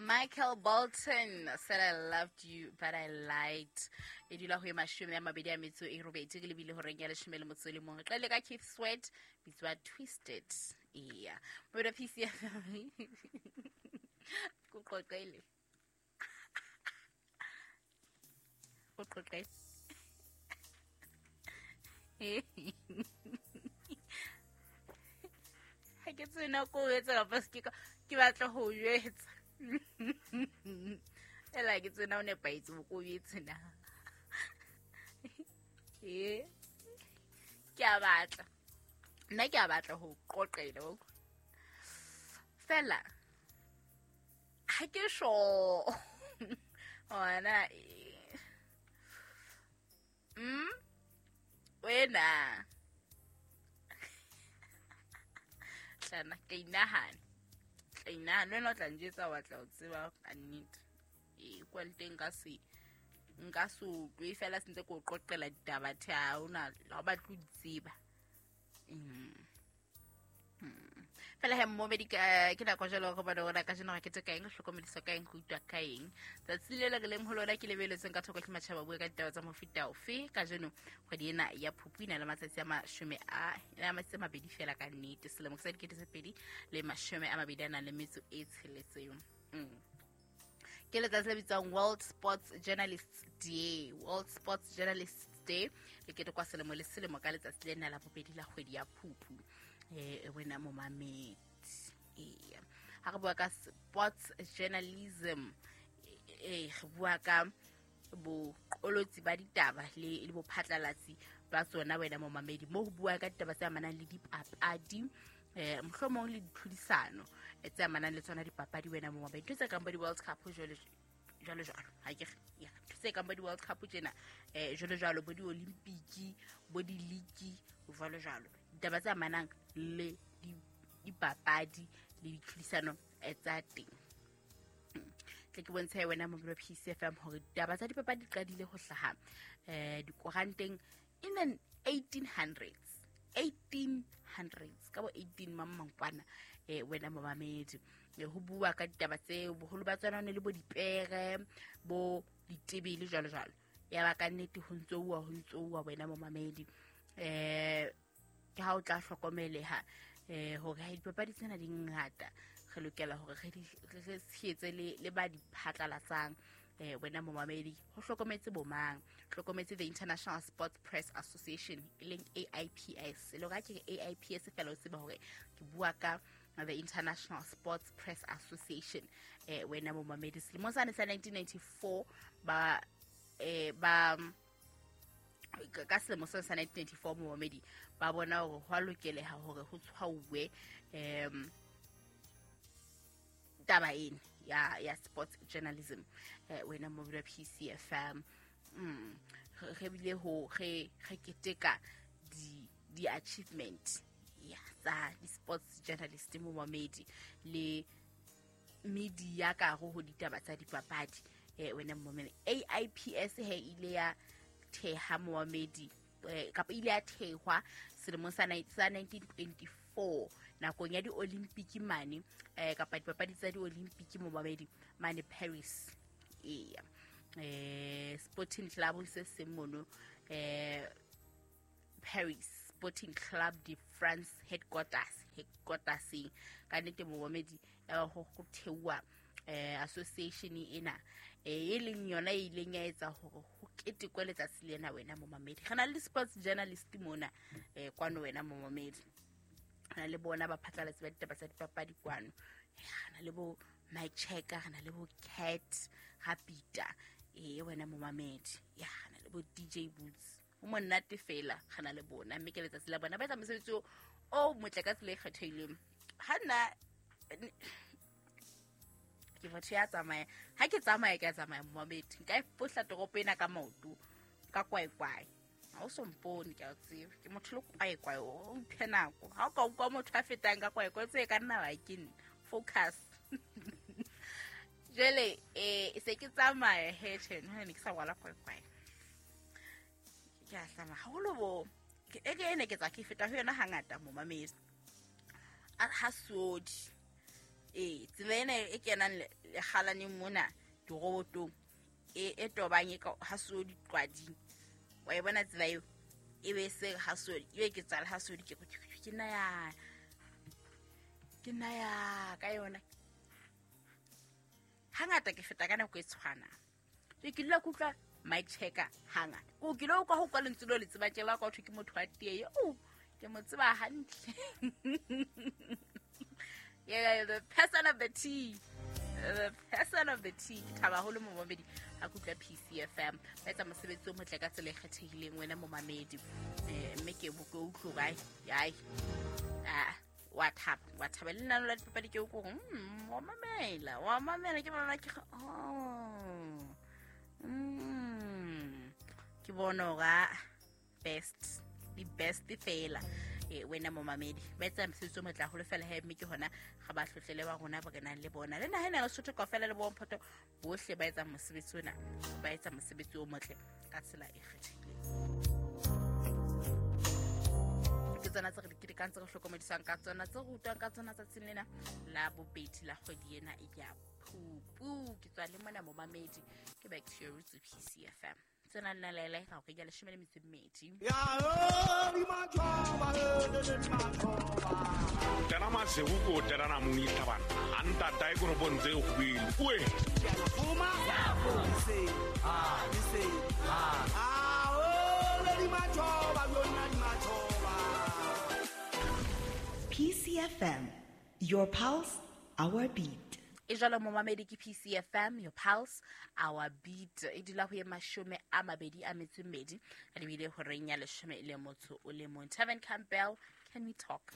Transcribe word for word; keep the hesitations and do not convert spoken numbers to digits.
Michael Bolton said I loved you but I lied. E dula ho e mashome a mabedi a metso e robedi ke lebile horeng ya leshome le motso le mong. Re qale ka Keith Sweat bitswa Twisted. Eya. Mona P C F M. Ko qoqele. Ko qoqele. Ha ke tsena ko etsa kapa se ke ke batla ho jwetsa. Ela ke tsena o nepahetse bo ko jwetse na. Eh. Ke a batla. Nna ke a batla ho qoqela o. Fela ha ke sure. Ona mm wena tlana ke inahana tla inahana wena o tla njwetsa wa tla o tseba ka nnete e kwa le teng ka se nka se utlwe fela sentse ke o qoqela ditaba the ha ona ha o batle ho di tseba. Fela he mmomedi ke nako jalo go bona gore ka jeno ga ke tse kaeng hlokomediswa ka eng go utlwa ka eng tsatsi le le re leng ho lona ke lebeletseng ka thoko hle matjhaba bue ka ditaba tsa mofuta ofe ka jeno kgwedi ena ya Phupu ena le matsatsi a mashome a a matsatsi a mabedi fela ka nnete selemo sa dikete tse pedi le mashome a mabedi a nang le metso e tsheletseng. Ke letsatsi le bitswang World Sports Journalists Day. World Sports Journalists Day le ketekwa selemo le selemo ka letsatsi lena la bobedi la kgwedi ya Phupu. Eh wena momamedi eh ha re bua ka sports journalism eh re bua ka boqolotsi ba ditaba le le bophatlalatsi ba tsona wena momamedi mo ho bua ka ditaba tse amanang le dipapadi eh mohlomong le ditlhodisano tse amanang le tsona dipapadi wena momamedi tse kang bo di World Cup jwalo jwalo jwalo ha ke ya tse kang bo di World Cup tjena eh jwalo jwalo bo di Olympic bo di league jwalo jwalo ditaba tse amanang le dipapadi le ditlhodisano tsa teng. Tle ke bontshe wena mo P C F M hore ditaba tsa dipapadi di qadile ho hlaha eh dikoranteng in the eighteen hundreds eighteen hundreds ka bo eighteen mamangkwana eh wena momamedi ho bua ka ditaba tse boholo ba tsona ne le bo dipere bo ditebele jwalo jwalo ya ba ka nnete ho ntso uwa ho ntso uwa wena momamedi eh ke ha o tla hlokomeleha eh hore ha dipapadi tsena di ngata re lokela hore re re tshehetse le le ba di phatlalatsang eh wena momamedi ho hlokometse bomang hlokometse the International Sports Press Association e leng A I P S le hore ke A I P S fela o tseba hore ke bua ka the International Sports Press Association eh wena momamedi selemo sane sa nineteen ninety-four ba eh ba ka selemo sa nineteen ninety-four momamedi ba bona hore ho a lokeleha hore ho tshwauwe em taba ena ya ya sports journalism eh wena mo P C F M mm re bile ho re re keteka di di achievement ya tsa di sports journalist momamedi le media ka ho ho ditaba tsa dipapadi eh wena momamedi A I P S he ile ya theha momamedi kapa ile ya thehwa selemong sa nineteen twenty-four nakong ya di-Olympic mane eh kapa dipapadi tsa di-Olympic momamedi mane Paris eya eh Sporting Club se seng mono eh Paris Sporting Club de France headquarters headquarters ka nnete momamedi ya ho theuwa eh association ena e leng yona e ileng ya etsa hore ho ketekwe letsatsi lena wena momamedi re na le sports journalist mona eh kwano wena momamedi re na le bona ba phatlalatsi ba ditaba tsa dipapadi kwano re na le bo Mike Checker re na le bo Cat Rapita eh wena momamedi ya re na le bo D J Boots o monate fela re na le bona mme ke letsatsi la bona ba etsa mosebetsi o motle ka tsela e kgethehileng ha nna ke motho ya tsamaya ha ke tsamaya ke tsamaya momamedi nka e fohla toropo ena ka maoto ka kwaekwae ha o so mpone ke a tseba ke motho le kwaekwae o mphe nako ha o ka utlwa motho a fetang ka kwaekwae tse ka nna ba ke nna focus jwale eh se ke tsamaya he tjhe ne ke sa rwala kwaekwae ke a hlama haholo bo e ke ene ke tsa ke feta ho yona hangata momamedi ha sodi eh tsela ena e kenang lekgalaneng mona dirobotong e e tobang e ka Hasodi Qwading. Wa e bona tsela eo e be se Hasodi e be ke tsala Hasodi ke ke nna ya ke nna ya ka yona. Hangata ke feta ka nako e tshwanang. Ke ke dula ke utlwa mic checker hangata. Ko ke lo utlwa ho kwa lentswe leo le tseba tjela ka ho thwe ke motho wa tee. Oh, ke mo tseba hantle. Yeah, the person of the tea. The person of the tea. Ke thaba haholo momamedi ha ke utlwa P C F M. Ba etsa mosebetsi o motle ka tsela e kgethehileng wena momamedi. Eh, mme ke bo ke utlwe kae. Ai. Ah, wa thaba, wa thaba le nna la dipapadi ke o ko mm, wa mamela, wa mamela ke bona ke oh. Mm. Ke bona hore best, the best fela. E wena momamedi ba etsa mosebetsi o motle haholo fela he, mme ke hona ga ba hlohlele ba rona ba kenang le bona le naha ena ya Lesotho kaofela le bomphoto bohle ba etsa mosebetsi ona, ba etsa mosebetsi o motle ka tsela e kgethehileng. Ke tsona tse re di ketekang, tse re hlokomedisang ka tsona, tse re rutwang ka tsona tsatsing lena la bobedi la kgwedi ena ya Phupu. Ke tswa le mona momamedi, ke back to your roots P C F M. Tsena nna lele ga go ya leshome le metso e mmedi. Tena masego ko terana moni tabana anta tai go bontse go ile oe P C F M, your pulse, our beat. E jalo momamedi ke P C F M, your pulse, our beat. E dula ho ye mashome a mabedi a metso e mmedi, a lebile horeng ya leshome le motso o le mong. Tevin Campbell, Can We Talk?